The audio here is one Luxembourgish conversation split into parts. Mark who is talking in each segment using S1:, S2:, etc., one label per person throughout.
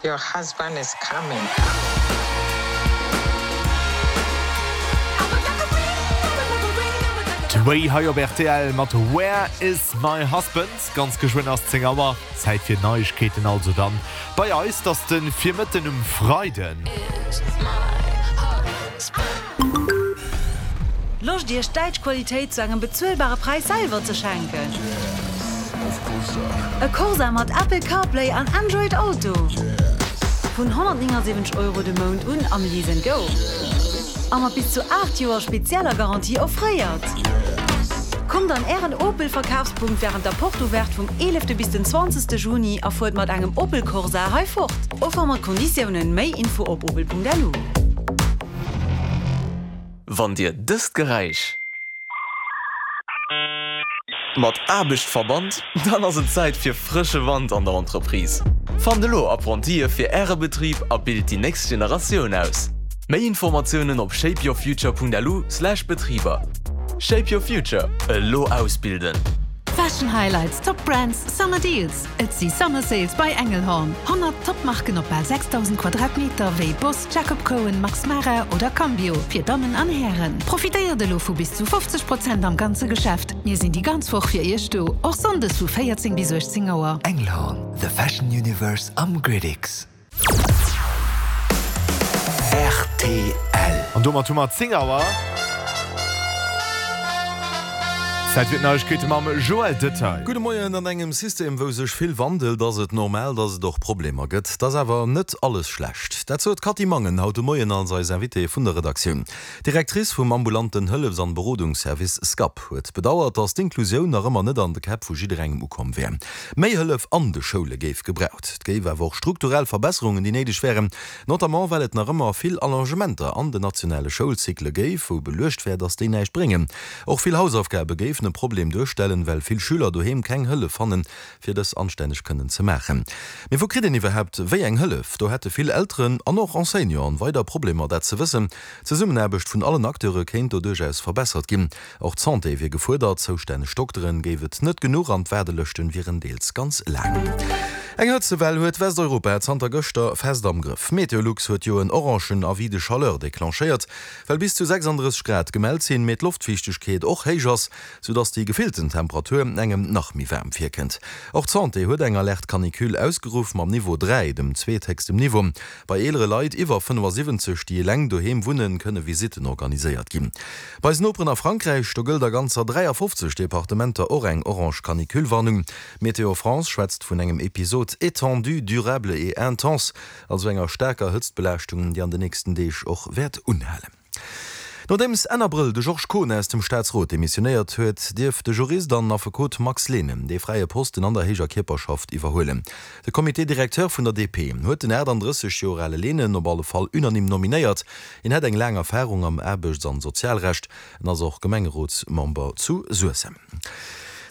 S1: Your husband is coming.
S2: D'Way hei op rtl mat Where is my husband? Ganz geschwënn ass 10 Auer, Zäit fir Neiegkeeten also dann bei eis. 't ass de Virmëtten um Freiden.
S3: Loscht Iech däitsch Qualitéit zu engem bezuelbare Präis selwer ze schenken? E Corsa mat Apple CarPlay an Android Auto? Vun 179 Euro de Mount un am Lease and Go a mat bis zu 8 Joer spezieller Garantie offréiert. Kommt an Ären Opel Verkafspunkt wärend der Porte Ouverte vum 11 bis den 20 Juni a fuert mat engem Opel Corsa hei fort. Offer mat Konditiounen. Méi Info op opel.lu.
S4: Wann Dir dëst Geräisch mat Aarbecht verbannt, dann ass et Zäit fir frësche Wand an der Entreprise. Fannt elo Apprentië fir Äre Betrib a bilt déi nächst Generatioun aus. Méi Informatiounen op shapeyourfuture.lu/betriber. Shape your future, elo ausbilden!
S5: Fashion Highlights, Top Brands, Summer Deals, Et si Summer Sales bei Engelhorn. 100 Top Marken op bal 6.000 Quadratmeter wéi Boss, Jacob Cohen, Max Mara oder Cambio fir Dammen an Hären. Profitéiert elo vu bis zu 50 Prozent am ganze Geschäft. Mir sinn déi ganz Woch fir Iech do, och Sonndes vu 14 bis 18 Auer.
S6: Engelhorn, the fashion universe am Gridix.
S2: Rtl. An domat hu mer 10 Auer. Zäit fir d'Neiegkeete mam Joël Detail.
S7: Gudde Moien. An engem System, wou sech vill wandelt, ass et normal, datt et och Problemer gëtt. Et ass awer net alles schlecht. Dat sot d'Cathy Mangen haut de Moien als eis Invitée vun der Redaktioun. D'Directrice vum ambulanten Hëllefs an Berodungsservice SCAP huet bedauert, datt d'Inklusioun nach ëmmer net an de Käpp vu jidderengem ukomm wär. Méi Hëllef an de Schoule géif gebraucht. Et géif awer och strukturell Verbesserungen, déi néideg wären, notamment well et nach ëmmer vill Allongementer an den nationale Schoulcycle géif, wou beluecht wär, datt déi näischt bréngen. Och vill Hausaufgabe géifen e Problem duerstellen, well vill Schüler doheem keng Hëllef fannen, fir dës anstänneg kënnen ze maachen. Mee wou kritt een iwwerhaapt wéi eng Hëllef? Do hätte vill Elteren an och Enseignanten weider Problemer, dat ze wëssen. D'Zesummenaarbecht vun allen Acteure kéint do duerchaus verbessert ginn. Och d'Santé wier gefuerdert, zoustänneg Dokteren géif et net genuch an d'Waardelëschten wieren deels ganz laang. Eng Hëtzewell huet Westeuropa zanter gëschter fest am Grëff. Meteolux huet jo en orangen Avis de chaleur declenchéiert, well bis zu 36 Grad gemellt sinn, mee d'Loftfiichtegkeet och héich ass, sou dass déi gefillten Temperatur engem nach méi waarm virkënnt. Och d'Santé huet eng Alerte Canicule ausgeruff mam Niveau 3, dem zweethéchstem Niveau. Bei eelere Leit iwwer 75, déi eleng doheem wunnen, kënne Visitten organiséiert ginn. Bei eisen Noperen a Frankräich, do gëllt a ganzer 53 Departementer och eng orange Canicule-Warnung. Météo France schwätzt vun engem Episode étendu, durable et intense, also enger staarker Hëtztbelaaschtung, déi an de nächsten Deeg och wäert unhalen. Nodeems Enn Abrëll de Georges Kohn aus dem Staatsrot demissionéiert huet, dierf de Jurist an Affekot Max Lehnen dee fräie Posten an der héijer Kierperschaft iwwerhuelen. De Comité directeur vun der DP huet den 38 Joer ale Lehnen op alle Fall unanime nominéiert. Hien hätt eng laang Erfarung am Aarbechts an Sozialrecht. En ass och Gemengerotsmember zu Suessem.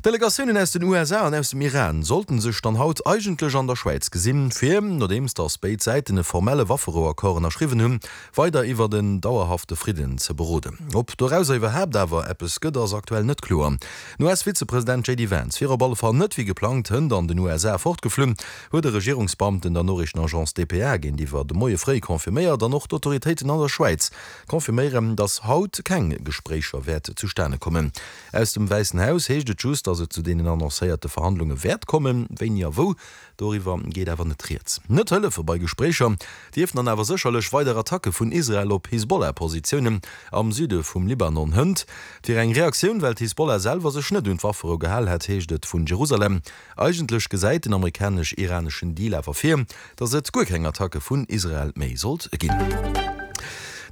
S7: Delegatiounen aus den USA an aus dem Iran sollten sech dann haut eigentlech an der Schwäiz gesinn, fir, nodeems datt béid Säiten e formelle Wafferouaccord ënnerschriwwen hunn, weider iwwert en dauerhafte Fridden ze beroden. Ob dorauser iwwerhaapt awer eppes gëtt, ass aktuell net kloer. Den US-Vizepresident JD Vance wier op alle Fall net wéi geplangt hënt an den USA fortgeflunn, huet e Regierungsbeamten der Noriichtenagence dpa géintiwwer de Moie fréi confirméiert. An och d'Autoritéiten an der Schwäiz confirméieren, datt haut keng Gespréicher wäert zustane kommen. Aus dem Wäissen Haus heescht et just, datt et zu deenen annoncéierte Verhandlunge wäert kommen. Wéini a wou, doriwwer geet awer net rieds. Net hëllefe bei Gespréicher dierften dann awer sécherlech weider Attacke vun Israel op Hisbollah-Positiounen am Süde vum Libanon hënt. Et wier eng Reaktioun, well d'Hisbollah selwer sech net un d'Wafferou gehal hätt, heescht et vun Jerusalem. Eigentlech gesäit den amerikanesch-iraneschen Deal awer vir, datt et guer keng Attacke vun Israel méi sollt ginn.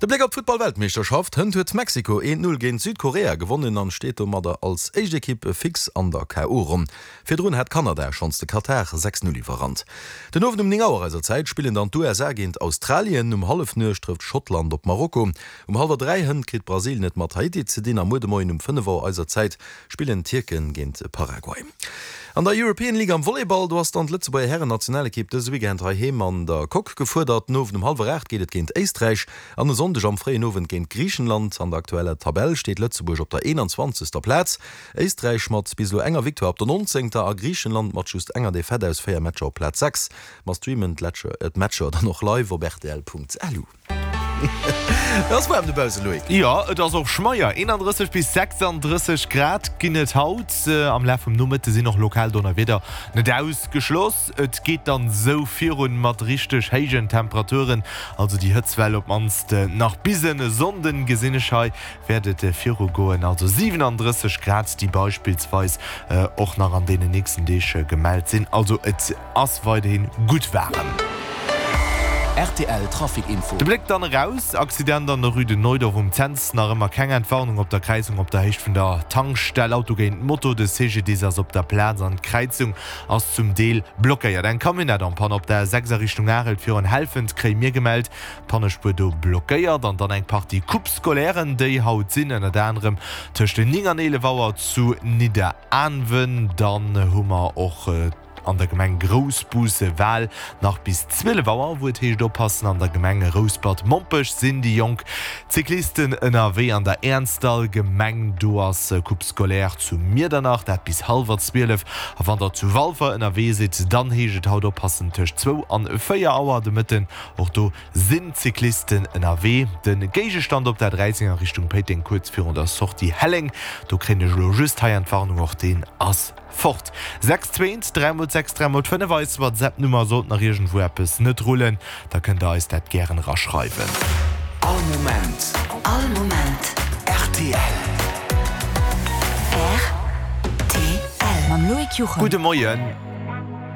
S7: De Bléck op d'Futtball-Weltmeeschterschaft, Hënt huet Mexiko 1, 0 géint Südkorea gewonnen an steet domadder als éischt Ekipp fix an der KO-Ronn. Virdrun hat Kanada schonns de Katar 6, 0 iwwerrannt. Den Owend um 9 Auer eiser Zäit spillen dann d'USA géint Australien, um Hallefnuecht trëfft Schottland op Marokko, um hallwer 3 hënt kritt Brasilien et mat Haiti ze dinn a muer de Moien um 5 Auer eiser Zäit spillen d'Tierken géint Paraguay. An der European League am Volleyball, do ass dann d'Lëtzebuerger Hären-Nationalekipp dëse Weekend heiheem an der Coque gefuerdert. Den Owend um hallwer 8 geet et géint Éisträich an e Sonndeg. Sonndeg am fréien Owend géint Griichenland. An der aktueller Tabell steet Lëtzebuerg op der 21. Plaz, Éisträich mat bis elo enger Victoire op der 19. A Griichenland mat just enger Defaite aus 4 Matcher op Plaz 6. Mer streamen d'Matcher dann och live op rtl.lu. Et ass waarm dobausse, Loïc.
S2: Jo, et ass och schmeier. 31 bis 36 Grad ginn et haut. Am Laf vum Nomëtte sinn och lokal Donnerwieder net ausgeschloss. Et geet dann esou virun mat richteg héijen Temperaturen, also déi Hëtztwell op d'mannst nach bis en Sonnden gesinn ech hei wäert et viru goen, also 37 Grad déi beispillsweis och nach an deenen nächsten Deeg gemellt sinn. Also et ass weiderhin gutt waarem.
S6: Rtl Trafic Info.
S2: De Bléck dann eraus, Accident an der Rue de Neudorf um Cents, nach ëmmer keng Entwarnung op der Kräizung op der Héicht vun der Tankstell. Auto géint Moto, de CGDIS ass op der Plaz an d'Kräizung ass zum Deel blockéiert. Eng Camionnette en panne op der 6 a Richtung Arel virun Helfent kréie mir gemellt. D'Pannespuer do blockéiert an dann eng Partie Coupes scolairen, déi haut sinn, ënnert anerem tëscht 9 an 11 Auer zu Nidderaanwen. Dann hu mer och an der Gemeng Groussbus Wal nach bis 12 Auer, wou et heescht oppassen. An der Gemeng Rouspert-Mompech sinn déi jonk Cyclisten ënnerwee. An der Äernsdall Gemeng, do ass Coupe scolaire zu Miedernach, dat bis hallwer 12. A wann der zu Walfer ënnerwee sidd, dann heescht et haut oppassen tëscht zwou an 4 Auer de Mëtten. Och do sinn d'Cyclisten ënnerwee. De Géigestand op der 13 a Richtung Péiteng kuerz virun der Sortie Helleng, do kréien ech elo just hei Entwarnung, och deen ass fort. 6 2 3 mol 6 3 mol 5 eis WhatsApp Nummer. Sollt nach iergendwou eppes net rullen, da kënnt der eis dat gären eraschreiwen.
S6: All Moment.
S3: All Moment.
S6: Rtl.
S3: Rtl. Mam Loïc Juchem.
S2: Gudde Moien.